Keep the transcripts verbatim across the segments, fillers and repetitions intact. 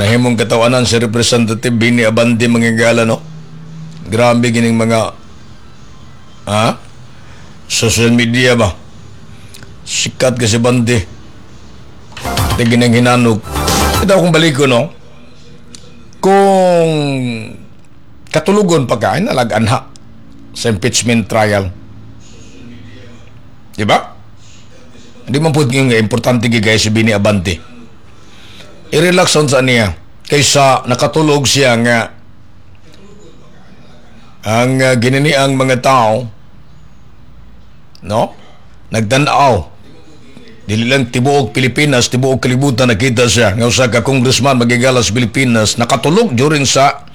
Nahimong katawanan si Representative Benny Abante, mga higala, no? Grabe gining mga, ha? Social media ba? Sikat kasi Abante. Tingin ng hinanok. Ito akong balik ko, no? Kung katulugon pa ka, ay nalaganha sa impeachment trial. Di ba? Hindi man po nga importante gigay si Benny Abante. I-relax on sa niya kaysa nakatulog siya nga ang uh, ginini ang mga tao, no, nagtanaw, dili lang tibuok Pilipinas, tibuok kalibutan nakita siya nga usa ka congressman, mga higala, sa Pilipinas nakatulog during sa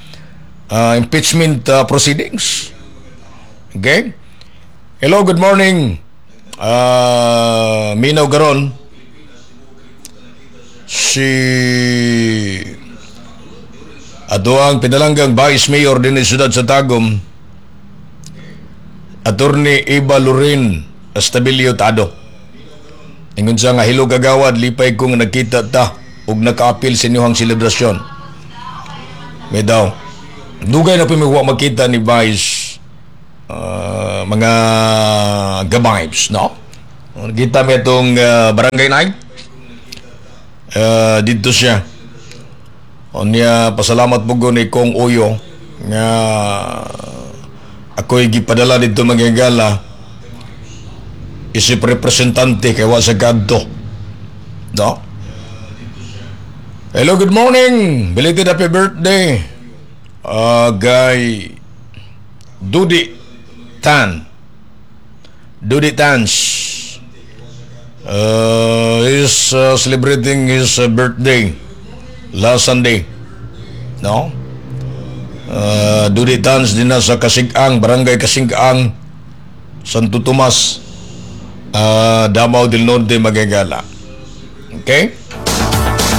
uh, impeachment uh, proceedings. Okay, hello, good morning. Uh, Minaw garon si atoang pinalanggang Vice Mayor din ni siyudad sa Tagum, Attorney Eva Loren Estabilio Tado. Ingon siya nga, "Hello kagawad, lipay ko nga nagkita ta ug nakaapil sa inyong selebrasyon." May daw. Dugay na po mi wa makita ni Vice, uh, mga gabibes, no? Kita mi itong uh, barangay night. Uh, dito siya. Unya, pasalamat po ko ni Kong Uyo nga ako'y gipadala dito, mga higala, isip representante kay wa sa kadto. No? Hello, good morning. Belated happy birthday. Uh, kay Dudi Tan. Dudi Tans. Uh, is uh, celebrating his uh, birthday last Sunday. No? Uh, Dudi Tans din na sa Kasig-ang, Barangay Kasig-ang, Santo Tomas, uh, Davao del Norte, mga higala. Okay?